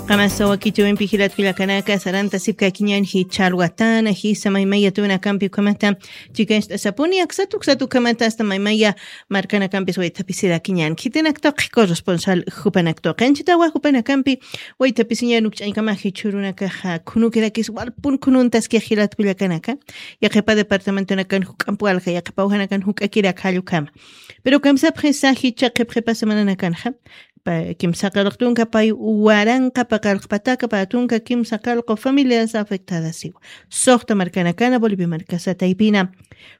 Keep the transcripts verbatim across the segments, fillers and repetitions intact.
Qamasa wakichawimpi jilat kullakanaka, sarantasipkakiñan jichha alwatana jisa maymaya tunakampi ukhamata chikañcht'asapuni, aksatu uksatu ukhamata asta maymaya markanakampis waythapisirakiñan. Khitinaktuqi corresponsal jupanaktuqi anchitawa jupanakampi waythapisiñan ukch'añkama jichhurunakaxa khunukirakis walpun khununtaski jilat kullakanaka, yaqhipa departamentonakan juk'amp walja, yaqhipa ujanakan juk'akirak jallukama. Pero kamsapxisa jichha qhipqhipa semananakanxa, pa- kimsa qallq tunka pay waranqa paqallq pataka pä tunka kimsa qallqu familias afectadas iwa. Suxta markanakana Bolivia markasa taypina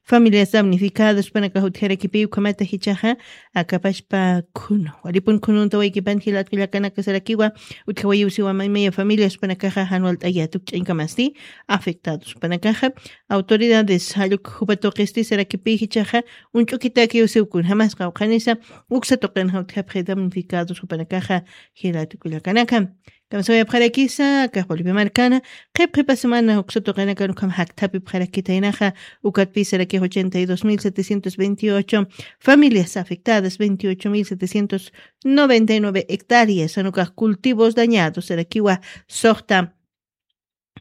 familias damnificadas panakax utjarakipi ukhamata jichhaxa akapashpa khunu. Walipun khununta waykipan jilat kullakanaka sarakiwa utjawayiw siwa maymaya familias panakaxa jan walt'ayät ukch'añkamasti afectados panakaxa. Autoridades jalluk jupa tuqisti sarakipi jichhaxa uñch'ukitakiw siw kunjamasqa uqhanisa uksa tuqinxa utjapxi damnificados jupanakaxa jilat kullakanaka. Kamsawayapxarakisa, akax Bolivia markana, qhip qhipa semana uksa tuqinakan ukham jakthapipxarakitaynaxa, ukatpi sarakix ochenta y dos mil setecientos veintiocho familias afectadas, veintiocho mil setecientos noventa y nueve hectáreas, jan ukax cultivos dañados, sarakiwa suxta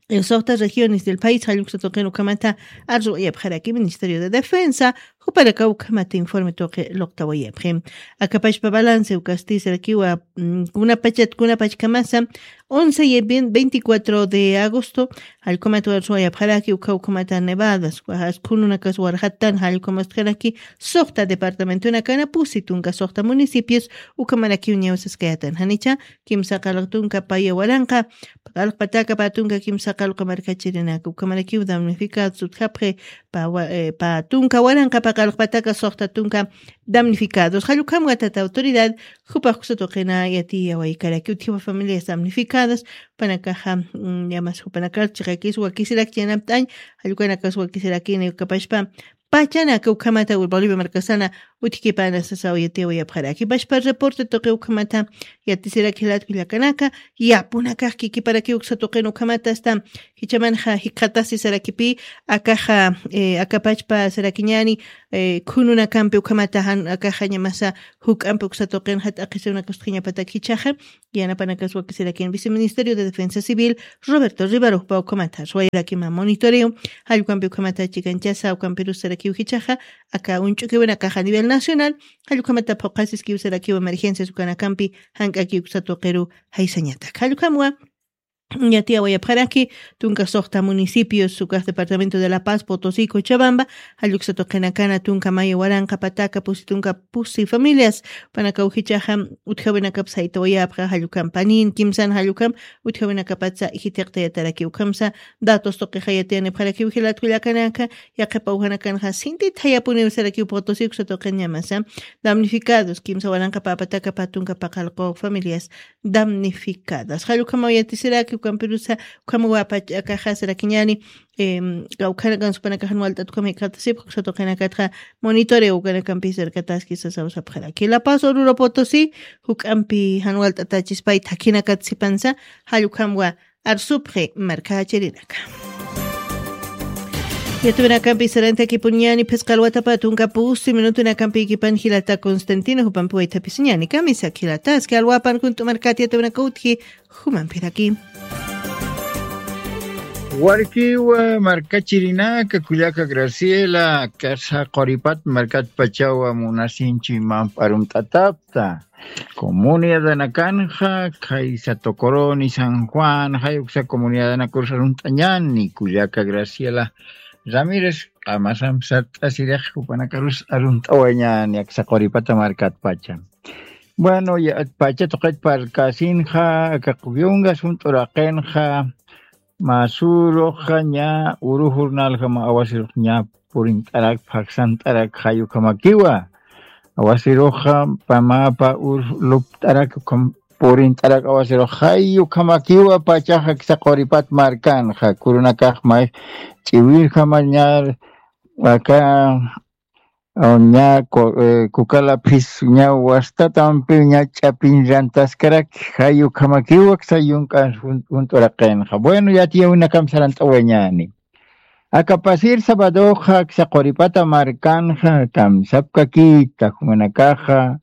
eh, suxta regiones del país, jalluksa tuqin ukhamata arsuwayapxaraki Ministerio de Defensa, jupanaka ukhamata informe tuqi luqtawayapxi. Akapashpa balance ukasti sarakiwa, mm, kunapachat, kunapachkamasa, once y vein- veinticuatro de agosto, jallukhamata arsuwayapxaraki, ukha ukhamata nevadas, wajas khununakas warjatan, jallukhamastxaraki, suxta departamentonakana pusi tunka suxta municipios, ukhamarakiw ñawsaskayatan. Janicha, kimsa qallq tunka paya waranqa, qallq pataka pä tunka kimsa qallq markachirinaka, ukhamarakiw damnificados utjapxi, pä wa- eh, pä tunka waranqa pä qallq pataka suxta tunka damnificados. Jallukhamwa tata autoridad, jupax uksa tuqina yatiyawaykaraki utjiwa familias damnificadas, panakaxa, mm, yamas jupanakar chiqakis wakisirak yanapt'añ, jallukanakas wakisirakini ukapashpa, pachanaka ukhamata Bolivia markasana utjkipana sasaw yatiyawayapxaraki. Pashpa reporte tuqi ukhamata yatisirak jilat kullakanaka, yapunakax kikiparakiw uksa tuqin ukhamata asta jichhamanxa jikxatasi sarakipi, akaxa, eh, akapachpa sarakiñani, eh, khununakampi ukhamata jan akaxa ñamasa juk'ampi uksa tuqinxa t'aqhisiwnakas utjiñapatak jichhaxa, yanapanakas wakisirakin Viceministerio de Defensa Civil, Roberto Rivero, jupa ukhamata arsuwayarakima monitoreo, jallukhampi ukhamata chikanchasa, ukhampirus sarakiw jichhaxa, aka uñch'ukiwinakaxa a nivel nacional, jallukhamata phuqhasiskiw sarakiw emergencias ukanakampi, jank'aki uksa tuqiru jaysañatak. Jallukhamwa, yatiyawayapxaraki, tunka suxta municipios, ukax departamento de La Paz, Potosí, Cochabamba, jalluksa tuqinakana, tunka maya waranqa pataka, pusi tunka pusi familias, panakaw jichhaxa, utjawinakap saytawayapxa, jallukam panin, kimsan jallukam, utjawinakapatsa jithiqtayataraki ukhamsa, datos tuqixa yatiyanipxarakiw jilat kullakanaka, yaqhipa ujanakanxa sintit jayapuniw sarakiw Potosí uksa tuqin ñamasa, damnificados, kimsa waranqa pä pataka pä tunka paqallqu familias damnificadas. Jallukhamwa yatisiraki, ukhampirusa, ukhamawa pach akaxa sarakiñani, em, kawkhanakan supanakax jan walt'at ukham jikxatasipxi, uksa tuqinakatxa monitoreo ukanakampis arkataski sasaw sapxaraki. La Paz, Oruro, Potosí, juk'ampi jan walt'atachispay thakhinakat sipansa, jallukhamwa arsupxi markachirinaka. Yatiyawinakampi sarantakipuniñani phisqa alwatapa tunka pusi minutunakampi ikipan jilata Constantino, jupampi waythapisiñani, kamisaki jilata, aski alwapan junt'u markat yatiyawinaka utji, jumampiraki. Warkiwa markachirinaka, kullaka Graciela, kasa quripat markat pachawa munasinchi mamp arumt'atapta. Comunidadanakanxa, khaysa Tocoroni, San Juan, jay uksa comunidadanakarus arunt'añani, kullaka Graciela Ramírez, qamasamp sart'asirix jupanakarus arunt'awañani, aksa quripata markat pacha. Bueno, ya, pacha tuqit parkasinxa, aka q'upiungas junt'uraqinxa, Masuruxa ña uru jornalxa mä awasirux ña purint'arak, phaksant'arak, jay ukhamakiwa. Awasiruxa pamapa ur lupt'arak, ukham purint'arak awasirux jay ukhamakiwa, pachaxa aksa quripat markanxa, kurunakax may ch'iwirjama ña aka, o, ña ku-, eh, kukala phis ña wastatampi ña ch'apiñ rantaskaraki, jay ukhamakiwa aksa yunk'an jun-, junt'uraqinxa. Bueno, yatiyawinakamp sarant'awayañani. Aka pasir sabadoxa aksa quripata markanxa, kamsapkakita, jumanakaxa,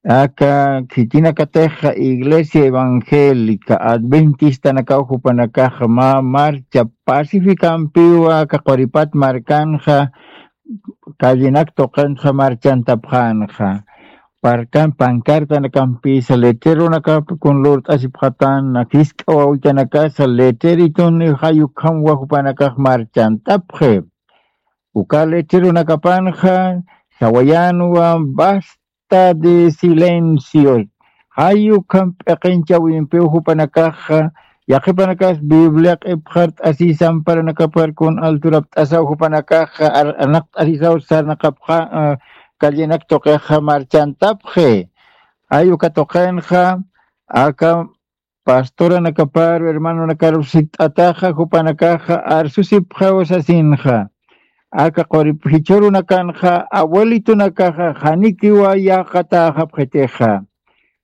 Aka khitinakatixa Iglesia Evangélica Adventistanakaw jupanakaxa mä marcha pacificampiwa aka Quripat markanxa, callenak tuqinxa marchantapxänxa. Parkan pancartanakampisa, letreronakap kun lurt'asipxatana, jisk'a wawitanakasa letreritun jay ukhamwa jupanakax marchantapxi. Uka letreronakapanxa sawayänwa: "Basta de silencio". Jay ukham p'iqinchawimpiw jupanakaxa, yaqhipanakas Biblia q'ipxart'asisa, amparanakapar kun alturapt'asaw jupanakaxa, ar-, arnaqt'asisaw sarnaqapxa, ah, callenak tuqixa marchantapxi. Jay uka tuqinxa, aka pastoranakaparu, hermanonakaru sikt'ataxa, jupanakaxa arsusipxaw sasinxa. Aka qurip jichhurunakanxa, abuelitonakaxa, janikiwa yäqatäxapxitixa.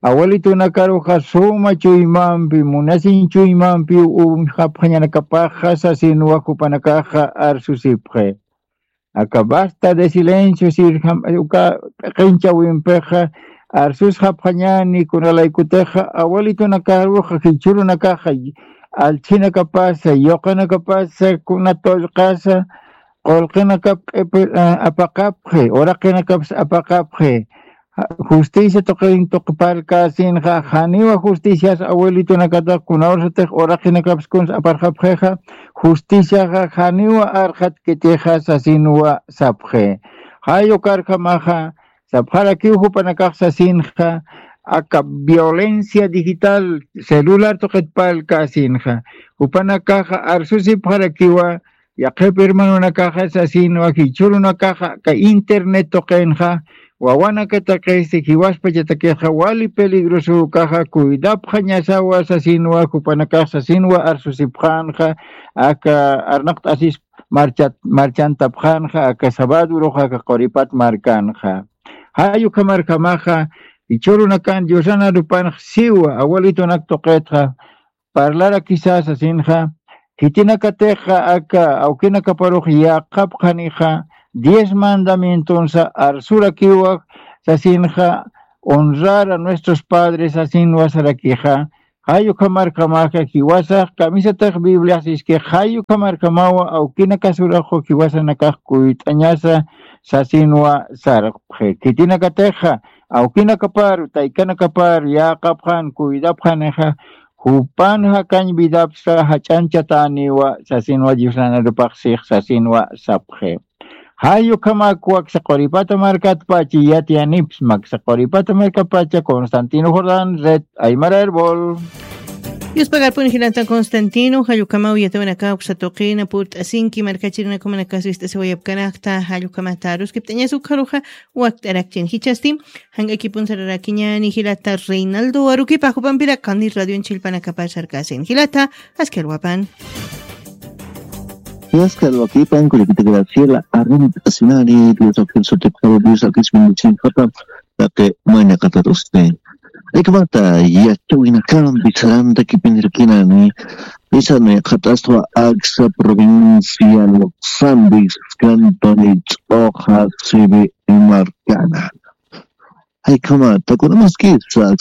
Abuelitonakaruxa suma chuymampi, munasin chuymampi uñjapxañanakapaxa sasinwa jupanakaxa arsusipxi. Aka basta de silencio sirjam, uka p'iqinchawimpixa arsusxapxañäni, kunalaykutixa abuelitonakaruxa, jichhurunakaxa, allchhinakapasa, yuqinakapasa, kuna tullqasa, qullqinakap q'ipi, a-, apaqapxi, uraqinakapas apaqapxi. Ja-, justicia tuqin tuqparkäsinxa, janiwa justicias abuelitonakatax, kunawrxatix uraqinakapas kuns aparxapxixa, justiciaxa janiwa arxatkitixa sasinwa sapxi. Jay ukarjamaxa, sapxarakiw jupanakax sasinxa, aka violencia digital, celular tuqitparkäsinxa, jupanakaxa arsusipxarakiwa, yaqhip hermanonakaxa sasinwa, jichhurunakaxa aka internet tuqinxa, wawanakataqisi, jiwaspachatakixa wali peligroso ukaxa cuidapxañasawa sasinwa, jupanakax sasinwa arsusipxänxa, aka arnaqt'asis marchat-, marchantapxänxa, aka sabado uruxa, aka Quripat markanxa. Jay ukhamarjamaxa, jichhurunakan Diosana arupanx siwa, abuelitonak tuqitxa, parlarakisa sasinxa, khitinakatixa aka awkinakaparux yäqapxanixa, diez mandamientonsa arsurakiwa sasinxa, honrar a nuestros padres sasinwa sarakixa, jay ukhamarjamaxa jiwasax kamisatix Bibliax siski, jay ukhamarjamawa awkinakasuraxu jiwasanakax kuyt'añasa sasinwa sarxi. Khitinakatixa, awkinakaparu, taykanakaparu, yäqapxän, cuidapxänixa, jupan jakañ vidapsa jach'anchatäniwa, sasinwa Diosnan arupax six, sasinwa sapxi. Jay ukhamak waksa Quripata markatpachi yatiyanipsma, aksa Quripata markapacha Constantino Jordán, Red Aymara Herbol. Yuspagarpun jilata Constantino, jay ukhamaw yatawinaka uksa tuqina purt'asinki markachirinakumanaka sist'asiwayapkanakta, jay ukhamata aruskipt'añas ukharuxa wakt'arakchin jichhasti, jank'akipun sararakiñani jilata Reinaldo Aruquipa, jupampira qani radion chillpanakapar sarkasin. Jilata, askharwapan. Askharwakipan, kullakita Graciela, arrimt'asinani, Dios akil sutipxaru, Dios akil bendecin japa, taqi mayna qatarusni. Ikmata, yachawinakampi sarantakipinirkinani, isani qhat'aswa aksa provincia Los Andes, cantoni Ch'oqa, sibi markana. Jaykhama, takunamaskisa,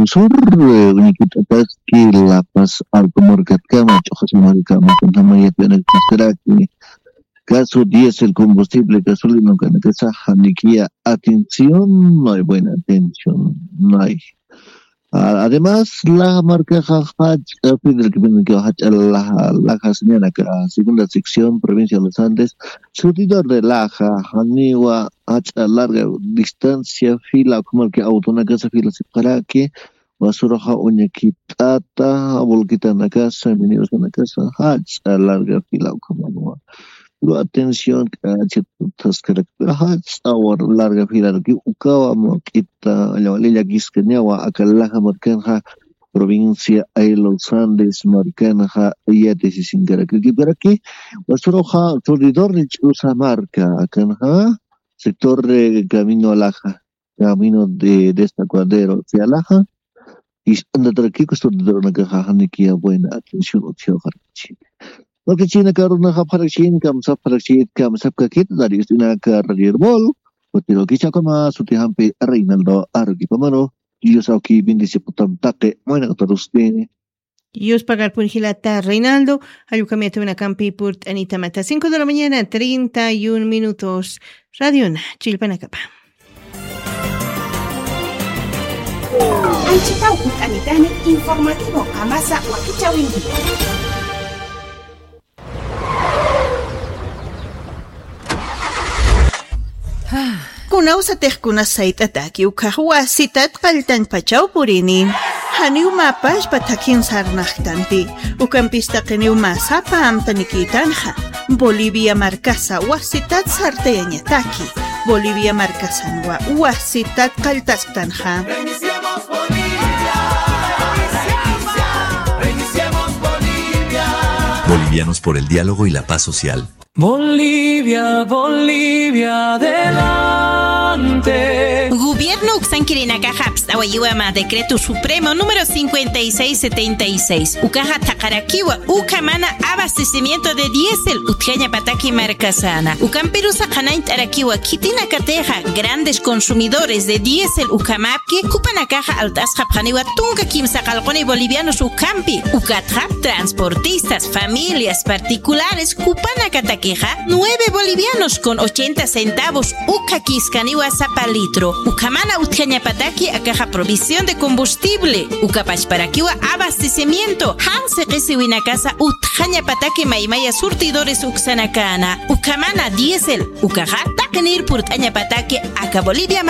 sur, uñikit'ataski, La Paz, Alto markatkama, Ch'oqa markama, kunjama yatiyanakuskaraki. Caso diésel, combustible, gasolina, kanakasa, janikiya atención, no hay buena atención, no hay. Ah, además, laja markaxa jach'a, Fidel Quibinque jach'a laja, laja señanaka, segunda sección, provincia de los Andes, surtidor de laja, janiwa, jach'a larga distancia, fila, como que autonakasa fila sipxaraki, basuraxa uñakipt'ata, volquitanakasa, minibuskanakasa, jach'a larga fila ukhamanwa. Lo atención, k'achit taskaraki, pero jach'a war larga filaraki, ukawa mawk'ita, llawali llakiskañawa, aka laja markanxa, provincia de los Andes markanxa, yatisisinkaraki, kikaraki, basuraxa, surtidor de Ch'usa marka, akanxa, sector de Camino Laja. Camino de Desaguadero, Cialaja, ist'antatarakiku, surtidorunakaxa janikiya buena atención utjiwxarakchi. Markachina karunaxa pharakchin, kamsap pharakchit, kamsap kakit, radio ist'inaka, radio Herbol, Utiro kichakama sutijampi Reinaldo Arquipamano. Dios awki bendice putam taqi, muena katarustini. Dios pagar pun jilata Reinaldo, allukamiyata winakampi purt'anitamata. Cinco de la mañana, treinta y un minutos. Radiona, chillpanakapa. Anchitaw purt'anitani informativo qamasa wakichawinki. Kunawsatix kunas sayt'ataki ukhax wasitat qalltañpachaw purini. Janiw mä pachpa thakhin sarnaqtanti. Ukampis taqiniw mä sapa amtanikïtanxa. Bolivia markasa wasitat sartayañataki. Bolivia markasanwa wasitat qalltasktanxa. Bolivianos por el diálogo y la paz social. Bolivia, Bolivia, adelante. Gobierno uksankirinakaxa apst'awayiwa mä decreto supremo número cincuenta y seis setenta y seis. Ukaxa thaqarakiwa ukhamana abastecimiento de diésel utjañapataki markasana. Ukampirusa qhanañt'arakiwa khitinakatixa grandes consumidores de diésel ukhamäpki, jupanakaxa alt'asxapxaniwa tunka kimsa qallquni bolivianos ukhampi. Ukatxa transportistas, familias particulares, jupanakatakixa nueve bolivianos con ochenta centavos ukhakiskaniwa sapa litro. Ukhamana utjañapataki akaxa provisión de combustible. Uka pachparakiwa abastecimiento. Jan siqisiwinakasa utjañapataki maymaya surtidores uksanakana. Ukhamana diésel. Ukaxa taqinir purt'añapataki aka Bolivia